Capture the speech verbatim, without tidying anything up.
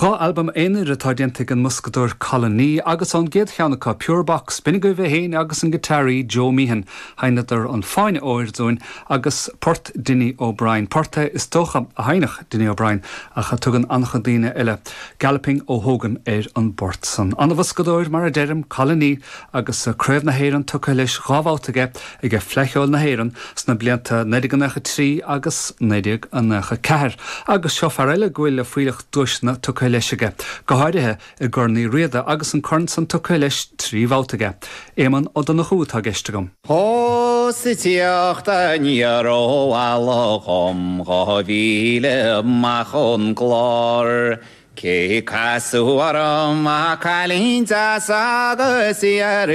Dhá albam aonair atá déanta ag an mboscadóir Colin Nee agus ón gcéad cheann acu Pure Box b'in agaibh é féin agus an giotáraí Joe Meehan sheinneadar an Fáinne Óir dúinn agus port Dinny O'Brien. Port é is dócha a sheinneadh Dinny O'Brien ach a tugann an-chuid daoine eile Galloping O'Hogan ar an bport san. An-bhoscadóir mar a deirim Colin Nee agus Craobh na hÉireann tugtha leis dhá bhabhta aige ag Fleadh Cheoil na hÉireann sna blianta naoi déag nócha trí agus naoi déag nócha ceathair. Agus seo fear eile go bhfuil le fuílleach duaiseanna tugtha leis aige, go háirithe i gCorn Uí Riada agus an corn san tugtha leis trí bhabhta aige. Éamonn Ó Donnchú atá i gceist agam. Ó sa tíocht aniar ó Alachom dhá mhíle amach ón gclár. Cé casadh orm ach cailín deas agus í ar